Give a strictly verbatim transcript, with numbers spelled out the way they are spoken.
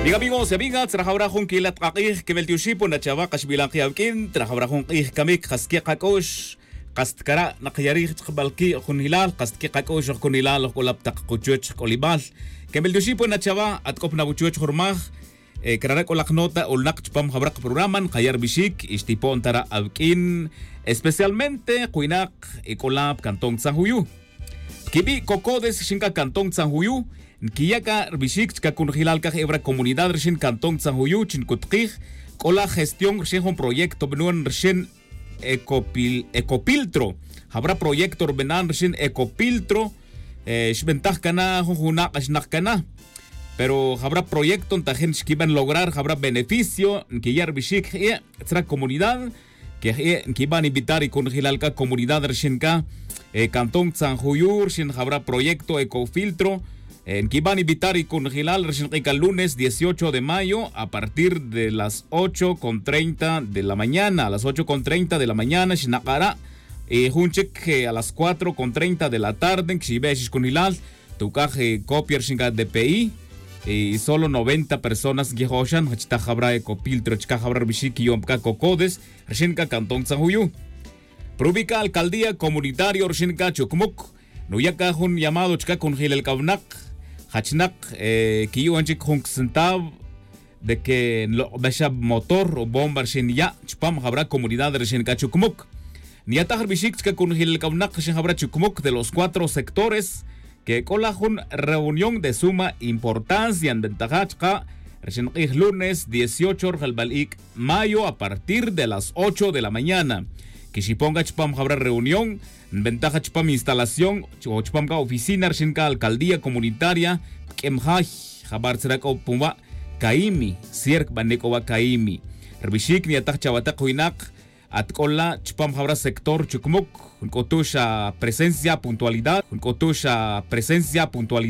Bien, amigos y amigas, trajawra jun quila' tk'ak'ij quemeltioxi pon na chawa kaxbilan ki' awq'uin trajawra jun k'ij camic kas que kac'u'x. Kas tcara' nak yarij chkabal qui' junjilal kas que kac'u'x junjilal ojc'ulap tak kuchuch jk'ulimal. Quemeltioxi pon na chawa atk'op na wuchuch jurmaj. Crara' c'o lak nota olnak chupam jawra kaprograma nkaya' rbixic y xtipo'n tara' awq'uin. Especialmente kuwinak ec'ola pcantón tzanjuyu. Quibi' cocodes xin ca cantón tzanjuyu nquiya' ca rbixic chica conjelal caj ewra comunidad rixin cantón tzanjuyu chi ncutkij. C'o la gestión rixin jun proyecto bnon rixin ecopiltro. Jawra proyecto rbinan rixin ecopiltro. Xbentaj cana jun juna' k'axnak cana. Pero jawra proyecto ntajin xquiben lograr jawra beneficio nquiya' rbixic je' tzra comunidad. Quej e' nquiban invitar y conjelal c'a comunidad rixin c'a cantón tzanjuyu rixin jawra proyecto ecofiltro. Nquiban invitar y conjelal rixin k'e c'a lunes dieciocho de mayo a partir de las ocho con treinta de la mañana a las ocho con treinta de la mañana xinak'ara'. Y jun chic a las cuatro con treinta de la tarde nquixibe' xixconjelal. Tuc'aj copia rixin c'a dpi y solo noventa personas nquijoxan jachtaj jawra ecopiltro chicaj jawra rbixic quiyom c'a cocodes rixin c'a cantón tzanjuyu. Prubica alcaldía comunitario rixin c'a chucmuc nuya' c'a jun llamado chic'a conjelal c'a wnak jachnak quiyu'on chic jun centav de que nlok'bexa motor o bomba rixin ya' chupam jawra comunidad rixin c'a chucmuc. Nyataj rbixic chic'a conjelal c'a wnak rixin jawra chucmuc de los cuatro sectores que c'o la jun reunión de suma importancia nbentaja chka' rixin k'ij lunes dieciocho rjelbal ic' mayo a partir de las ocho de la mañana. Quixipon c'a chupam jawra reunión nbentaja chupam instalación o chupam c'a oficina rixin c'a alcaldía comunitaria pq'uem jay. Jabar tzra c'o punwa' caimi cierc bane c'o wa' caimi. Rbixic nyataj chawatak winak at c'o la chupam jawra sector chucmuc nc'utux a presencia puntualidad nc'utux a presencia puntualidad.